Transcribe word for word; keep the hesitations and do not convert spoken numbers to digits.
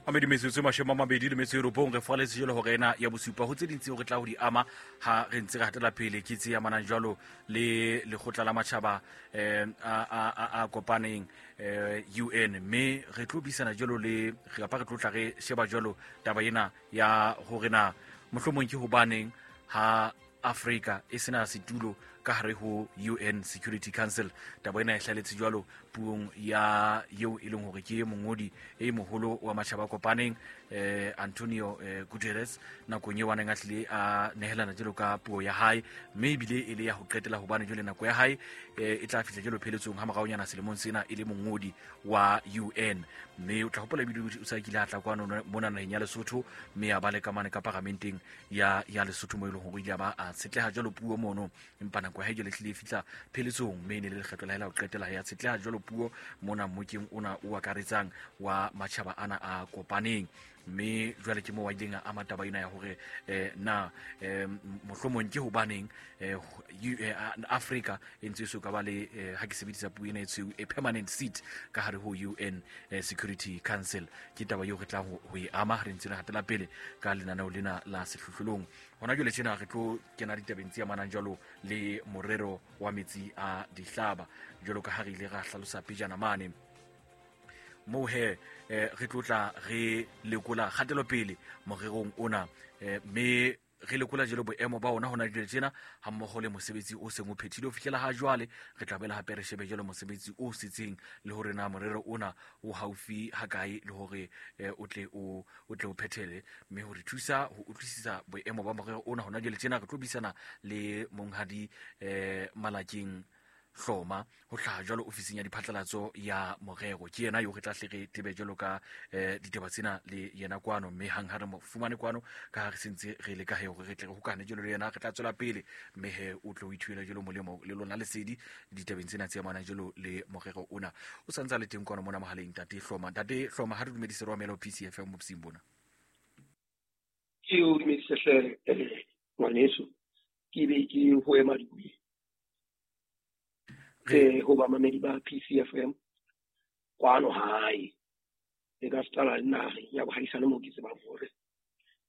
Mamedi metsotso e mashome a mabedi le metso e robong re faletse jalo hore ena ya bosupa ho tse ding tseo re tla ho di ama ha re ntse re hatela pele ke tse amanang jwalo le lekgotla la matjhaba um a, a, a, a kopaneng eh, U N, mme re tlo buisana jwalo le kapa re tlo tla re sheba jwalo taba ena ya hore na mohlomong ke hobaneng ha Afrika e sena setulo ka hare ho U N Security Council. Taba ena e hlaletse jwalo puong ya eo e leng hore ke mongodi e moholo wa matjhaba a kopaneng eh, Antonio eh, Guterres nakong eo a neng a tlile a nehelana jwalo ka puo ya hae, mme ebile e le ya ho qetela hobane jwale nako ya hae eh, e tla fihla jwalo pheletsong ha moraonyana selemong sena e le mongodi wa U N. Mme o tla hopola ebile o sa kile a tla kwano mona naheng ya Lesotho, mme a ba le kamane ka paramenteng ya, ya Lesotho mo e leng hore o ile a ba a tshetleha jwalo puo mono, empa nako ya hae jwale e hlile e fihla pheletsong, mme e ne le lekgetlo la hae la ho qetela ya tshetleha jwalo puo mona mmokeng ona o akaretsang wa matjhaba ana a kopaneng. Mme jwale ke moo a ileng a ama taba ena ya hore eh, na eh, mohlomong ke hobaneng eh, eh, Afrika e ntse e so ka ba le eh, ha ke sebedisa puo ena e tshweu, a permanent seat ka hare ho U N eh, Security Council. Ke taba eo re tlang ho, ho e ama re ntse re hatela pele ka lenaneo lena la sehlohlolong. Hona jwale tjena re tlo kena ditabeng tse amanang jwalo le morero wa metsi a dihlaba, jwalo ka ha re ile ra hlalosa pejana mane. Moo he eh, re tlo tla re lekola kgatelopele morerong ona eh, mme re lekola jwalo boemo ba ona hona jwale tjena ha mmoho le mosebetsi o seng o phethile ho fihlela ha jwale. Re tla boela hape re shebe jwalo mosebetsi o setseng le hore na morero ona o haufi ha kae le hore eh, o tle o, o tle o phethele. Mme ho re thusa ho utlwisisa boemo ba morero ona hona jwale tjena re tlo buisana le monghadi eh, Malakeng Hloma ho hlaha jwalo ofising ya diphatlalatso ya morero. Ke yena yo re tla hle re tebe jwalo ka eh, ditaba tsena le yena kwano, mme hang ha re mo fumane kwano ka ha re sentse re le ka he hore re tle re hokane jwalo le yena, re tla tswela pele mme he o tlo o ithuela jwalo molemo le lona lesedi ditabeng tsena tse amanang jwalo le morero ona. O santse a le teng kwano mona mohaleng Ntate Hloma. Ntate Hloma, ha re dumedise re amela P C F M bosing bona. Ke o dumedise hle, eh, ngwaneso, ke be ke ho ema dibui. Re Eh, ho bamamedi ba P C F M kwano hae, le ka setala le naheng ya bohaisane moo ke tsebang hore